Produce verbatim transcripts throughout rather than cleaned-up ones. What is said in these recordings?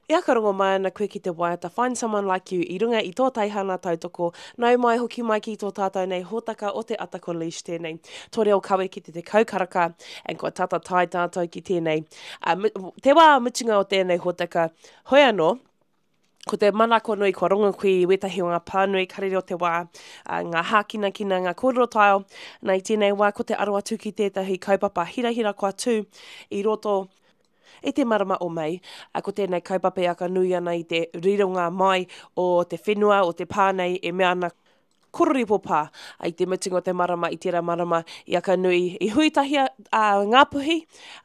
E whakarongo mai ana koe ki te waiata Find Someone Like You i runga i tō teihana tautoko. Nau mai hoki mai ki tō tātou nei hōtaka o te Ata ko Leish tēnei. Tō reo kawe ki te tekau karaka and kua tata tae tātou ki tēnei. Uh, te wā mutunga o tēnei hōtaka, hoi anō, ko te manako nui kua rongo koe i wētahi o ngā pānui karere o te wā, uh, ngā hākinakina, ngā kōrero taeo, nā i tēnei wā ko te aro atu ki tētahi kaupapa hirahira kua tū i roto i te marama o Mei, a ko tēnei kaupapa e aka nui ana i te rironga mai o te whenua, o te pā nei e mea ana Kororipo pā. I te mutunga o te marama, i tērā marama, i aka nui, i hui tahi a, a Ngāpuhi,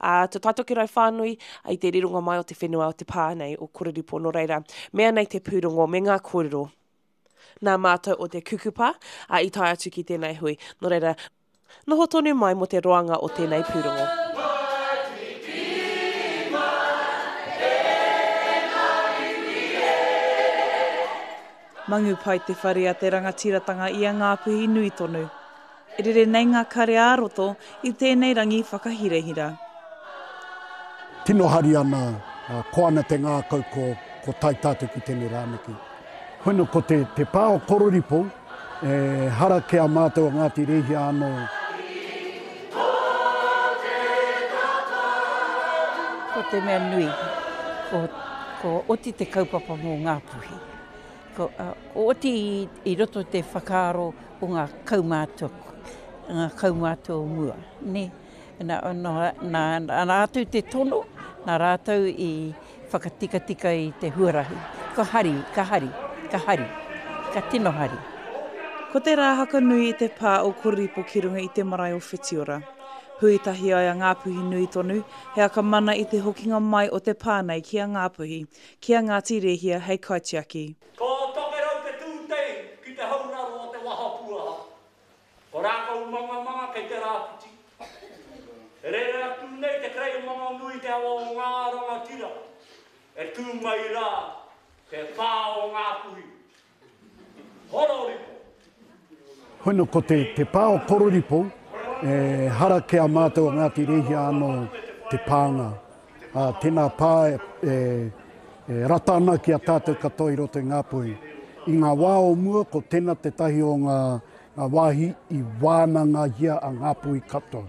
a Te Taitokerau whānui, i te rironga mai o te whenua o te pā nei o Kororipo. Nō reira, mea nei te pūrongo me ngā kōrero nā mātou o te kukupa a, i tae atu ki tēnei hui. Nō reira, noho tonu mai mō te roanga o tēnei pūrongo. Mangu pai te whare a te rangatiratanga i a Ngāpuhi nui tonu. E rere nei ngā kare ā-roto i tēnei rangi whakahirahira. Tino hari ana, ko ana te ngākau ko, ko tae tātou ki tēnei rānaki. Hono ko te, te pā o Kororipo, e hara ke a mātou o Ngāti Rēhia anō. Ko te mea nui, ko, ko oti te kaupapa mō Ngāpuhi. Ko, uh, ko oti i, i roto te whakaaro o ngā kaumātua, ngā kaumātua o mua. Ne? Nā, nā, nā, nā rātou te tono, nā rātou i whakatikatika i te huarahi. Ka hari, ka hari, ka hari, ka tino hari. Ko te rā hakanui i te pā o Kororipo ki runga i te marae o Whitiora. Hui tahi ai a Ngāpuhi nui tonu, he akamana i te hokinga mai o te pā nei ki a Ngāpuhi, ki a Ngāti Rēhia hei kaitiaki. Ko Tokerau te tūtei ki te hauraro o te wahapuaha. Ko Rākau Mangamanga kei te rāwhiti. E rere atu nei te kerei manganui te awa o ngā rangatira. E tū mai rā te pā o Ngāpuhi. Hororipo. Hono ko te, te pā o Kororipo, e hara ke a mātou o Ngāti Rēhia anō te pānga. Uh, tēnā pā e, e, e rata ana ki a tātou katoa i roto i Ngāpuhi. I ngā wā o mua, ko tēnā te tahi o ngā, ngā wāhi i wānangahia a Ngāpuhi katoa.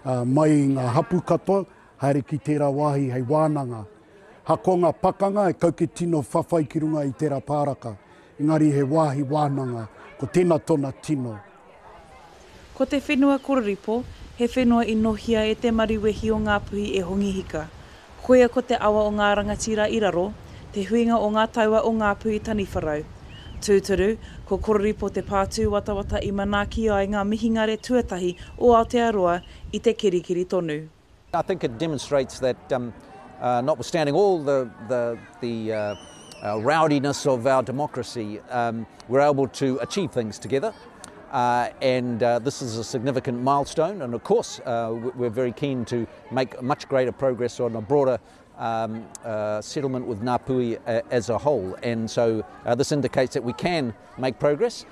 Uh, mai i ngā hapu katoa, haere ki tērā wāhi hei wānanga. Hako ngā pakanga e kauke tino whawhai ki runga i tērā pāraka. Engari he wāhi wānanga, ko tēnā tōna tino. Ko te whenua Kororipo, he whenua i nohia e te mariwehi o Ngāpuhi e Hongi Hika. Koia ko te awa o ngā rangatira i raro, te huinga o ngā taua o Ngāpuhi Taniwharau. Tūturu, ko Kororipo te pātū watawata i manaaki ai ngā mihingare tuatahi o Aotearoa i te kirikiri tonu. I think it demonstrates that um, uh, notwithstanding all the, the, the uh, uh, rowdiness of our democracy, um, we're able to achieve things together. Uh, and uh, this is a significant milestone, and of course uh, we're very keen to make much greater progress on a broader um, uh, settlement with Ngāpuhi as a whole, and so uh, this indicates that we can make progress.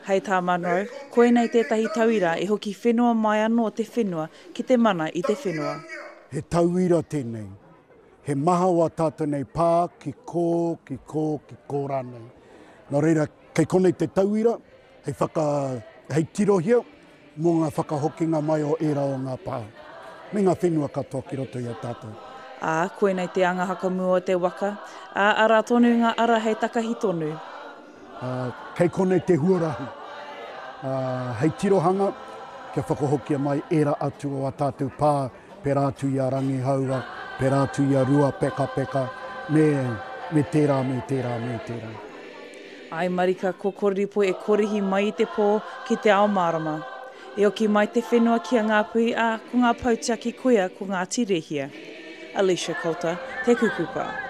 Hei tā Munro, koinei tētahi tauira e hoki whenua mai anō te whenua ki te mana i te whenua. He tauira tēnei. He maha o a tātou nei pā ki kō, ki kō, ki kō rānei. Nō reira, kei konei te tauira, hei, whaka, hei tirohia mō ngā whakahokinga mai o ērā o ngā pā. Me ngā whenua katoa ki roto i a tātou. Ā, koinei te anga hakamua o te waka, ā, arā tonu ngā ara hei takahi tonu. Uh, kei konei te huarahi. Uh, hei tirohanga, kia whakahokia mai ērā atu o a tātou pā, pērā atu i a Rangihaua, pērā atu i a Rua Peka Peka, me, me tērā, me tērā, me tērā. Ai marika ko Kororipo e korihi mai i te pō ki te ao mārama. E oki mai te whenua ki a Ngāpuhi ā, ko ngā pautiaki koia ko Ngāti Rēhia. Alicia Coulter, Te Kukupa.